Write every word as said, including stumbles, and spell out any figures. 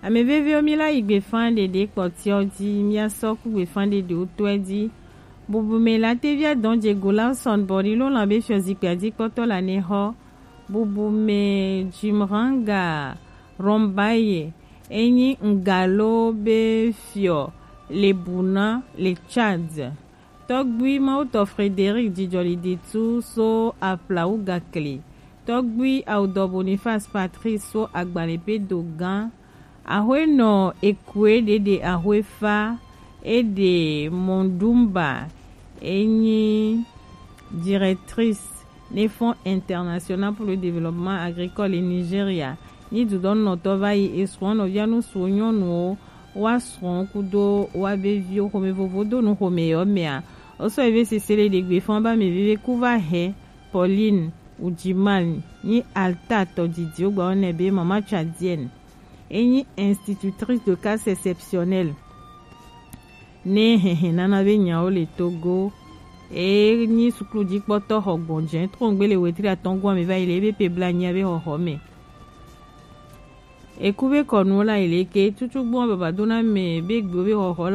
Ame veviwo, mi la yi gbefa ɖeɖe kpɔtiɔ ji, mi asɔ ku gbefa ɖeɖewo tɔɛ ji. Bubu me la tevi adɔn je go la sɔn bɔ ni lo lan be fiɔ zikpui adikpɔtɔ la ne xɔ. Bubu me Jimranga Rombaye, enyi Ngalo be fiɔ le Buna le Tchad. Tɔgbui Mawutɔ Frédéric Jijɔliditu so Aflawugakli. Tɔgbui Awudɔ Boniface Patrice so Agbalẽpedo gã. Ahwenɔ Ekue ɖeɖe Ahwefa, eɖe Mondumba, enyi directrice ne Fonds International pour le Développement Agricole et Nigeria. Ni dudɔnunɔtɔ va yi esrɔ̃ nɔvia nu suɔ nyɔnuwo, wa srɔ̃ kudo wa be viwo xome vovo do nu xome yɔ mea. Osɔ eve sese le ɖegbe fɔn ba me veve ku va hɛ Pauline Ujiman ni alta tɔ didiwo gba ne be mama Tchadienne. Enyi institutrice de cas exceptionnel ne hɛhɛ nana be nyawo le Togo. Enyi suklu dikpɔtɔ xɔ gbɔnjɛ trɔngbe le wetri atɔn gɔme va yi le ebe pe bla nyia be xɔxɔ me. Eku be kɔnu la yi le ke tutu gbɔn baba dona me be gbe be xɔxɔ